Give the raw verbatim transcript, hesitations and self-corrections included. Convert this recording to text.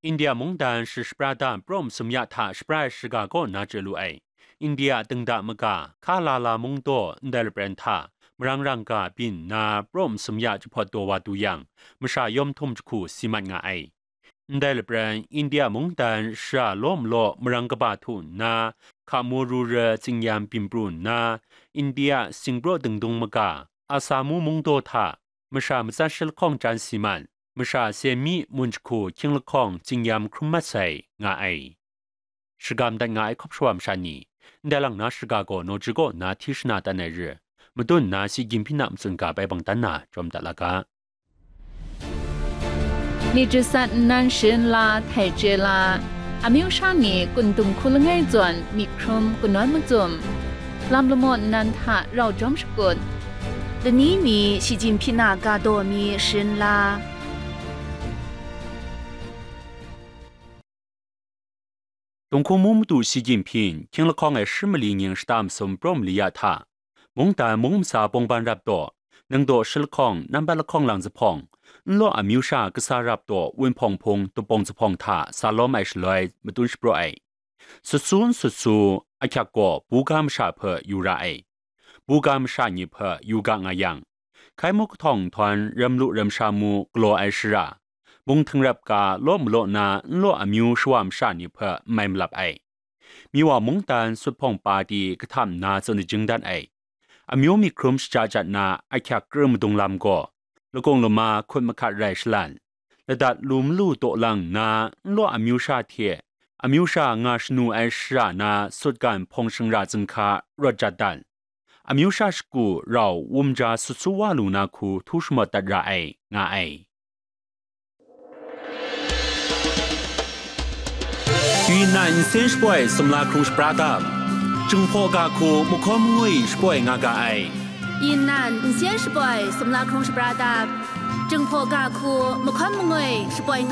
India mungdan shashapra da prum sumya hta shapra ai shiga kaw na chye lu ai. India a dingda maga, Kalala mungdaw ndai lapran hta, marang rangga byin nna prum sumya jahpawt daw wa du yang, masha yawm htum jahku si mat nga ai. Ndai lapran, India mungdan shara law malaw marang kaba htu nna, hkamu ru re tsingyam byin pru nna, India singpraw dingdung maga, Asamu mungdaw hta, masha matsat shi lahkawng chyan si mat, masha se mi mun jahku hkying lahkawng tsingyam hkrum mat sai, nga ai. Shagam dat nga ai hkawp shawa masha ni, ndai lang na shiga gaw nawji kaw na hti shana tan ai re, madun na si ginhpyin a matsun ga bai bang dan na jawm dat la ga. Myit jasat nnan sharin la htai chye la, amyu sha ni kun dum hku langai zawn myit hkrum kanawn macum, lam lamaw nnan hta rau jawm shakut, lani mi shi ginhpyin a ga daw mi sharin la. Tunghku mu madu shi ginhpyin, hkying lahkawng ai shi mali nying shata masum prum mali ya hta, mungdan mung masa bawngban rap daw, ningdaw shi lahkawng, nambat lahkawng lang zuphpawng, nlaw amyu sha kasa rap daw, wunhpawng hpung, dupawng zuphpawng hta sa lawm ai shaloi, matun shapraw ai. Sut su n sut su, ahkyak gaw buga masha hpe yu ra ai. Buga masha ni hpe yu ga nga yang, hkai mu kahtawng nhtawm ram lu ram sha mu galaw ai shara, mung htingrap ga law malaw na nlaw amyu shawa masha ni hpe n mai malap ai. Miwa mungdan sut hpawng pa di kahtam nna tsun ajing dat ai. Amyu myit hkrum shaja jat na ahkyak kru madung lam gaw, lakung lama hkut mahkat rai shalan, ladat lu malu taw lang nna nlaw amyu sha hte amyu sha nga shanu ai shara na sutgan hpawng shingra zinghka rawt jat dat, amyu sha shagu rau wum ja sut su wa lu na hku htu shamawt dat ra ai, nga ai. 云南 nsen shapoi sumla hkrung shapra dap, Jinghpaw ga hku mahkawn mangwi shapoi nga ga ai. 云南 nsen shapoi sumla hkrung shapra dap, Jinghpaw ga hku mahkawn mangwi shapoi